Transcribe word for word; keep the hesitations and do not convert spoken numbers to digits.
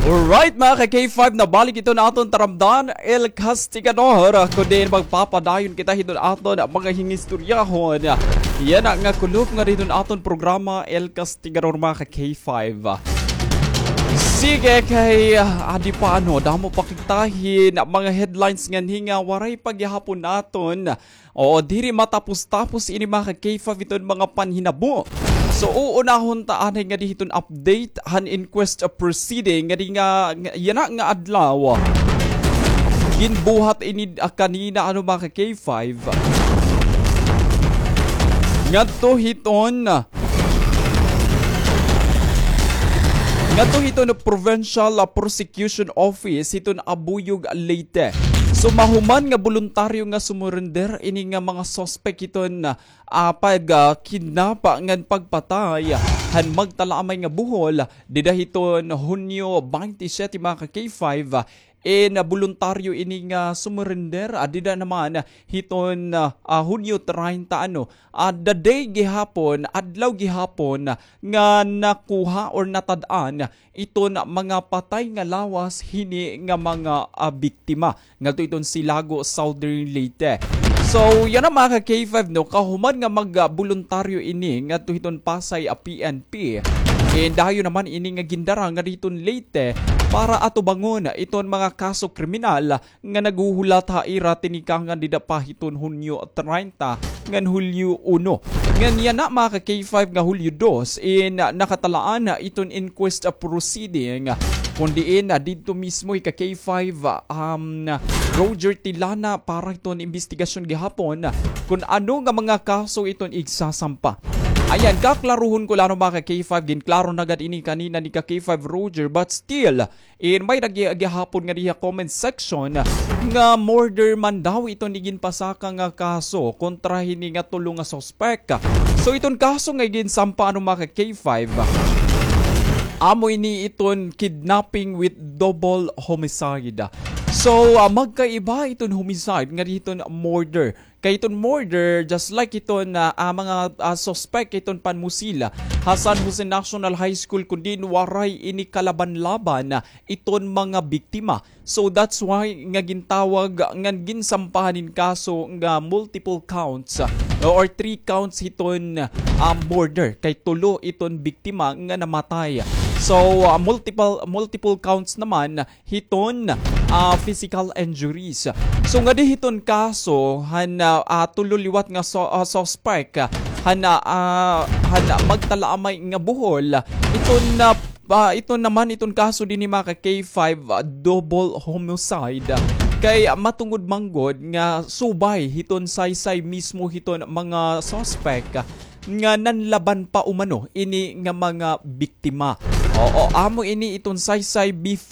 Alright, mga ka K five, nabalik iton aton taramdan, El Castigador. Kun diin magpapadayon kita hiton aton mga hingistoryahon. Yana nga kulop nga hiton aton programa, El Castigador, mga ka K five. Sige, kay, ah, adi pa, ano, damo pa kita hin mga headlines nganhi nga waray pa gihapon naton Oo, diri matapos-tapos ini, mga ka K five, iton mga panhinabo. So, uunahon ta anay ngadi hiton update han inquest proceeding ngadi nga, nga yana nga adlaw. Ginbuhat ini, ah, kanina, ano, mga ka K five. Ngadto hiton Ngadto hiton Provincial, ah, Prosecution Office hiton Abuyog, Leyte. So, mahuman nga boluntaryo nga sumurrender ini nga mga suspek hiton, ah, pag, ah, kidnap ngan pagpatay han magtalaamay nga buhol dida hiton Hunyo twenty-seven, mga ka K five, in, ah, boluntaryo ini nga sumurrender, ah, dida naman hiton, ah, ah, Hunyo treinta, ano, ah, the day gihapon, adlaw gihapon nga nakuha or natad-an iton mga patay nga lawas hini nga mga, ah, biktima ngadto iton Silago, Southern Leyte. So, yana, mga ka K five, no, kahuman nga mag, ah, boluntaryo ini ngadto hiton Pasay, ah, P N P. And dayon naman ini nga gindara ngadi hiton Leyte para atubangon iton mga kaso kriminal nga naghuhulat ha ira tinikangan dida pa hiton Hunyo treinta ngan Hulyo uno. Ngan yana, mga ka K five, nga Hulyo dos in, ah, nakatalaan iton inquest, ah, proceeding, kun diin, ah, didto mismo hi ka K five, ah, um, Roger Tilana para hiton imbestigasyon gihapon kun ano nga mga kaso iton igsasampa. Ayan, kaklaruhon ko la, ano, mga ka K five, ginklaro na gad ini kanina ni ka K five Roger, but still, in may nag-, gihapon ngadi ha comment section nga murder man daw iton iginpasaka nga kaso kontra hini nga tulo nga suspek. So, iton kaso nga ginsampa, ano, mga ka K five, amo ini iton kidnapping with double homicide. So, ah, magkaiba iton homicide ngadi hiton murder. Kay iton murder, just like iton, ah, ah, mga, ah, suspek iton panmusil ha San Jose National High School, kun diin waray ini kalaban-laban iton mga biktima. So that's why nga gintawag ngan ginsampahan hin kaso nga multiple counts, ah, or three counts hiton, ah, murder. Kay tulo iton biktima nga namatay. So, ah, multiple, multiple counts naman hiton, ah, physical injuries. So, ngadi hiton kaso han, ah, ah, tulo liwat nga su-, ah, suspek, ah, han, ah, ah, han, ah, magtalaamay nga buhol. Iton, ah, ah, iton naman, iton kaso dinhi, mga ka K five, ah, double homicide. Kay, ah, matungod man gud nga subay hiton saysay mismo hiton mga suspek, ah, nga nanlaban pa umano ini nga mga biktima. Oo, amo ini iton saysay before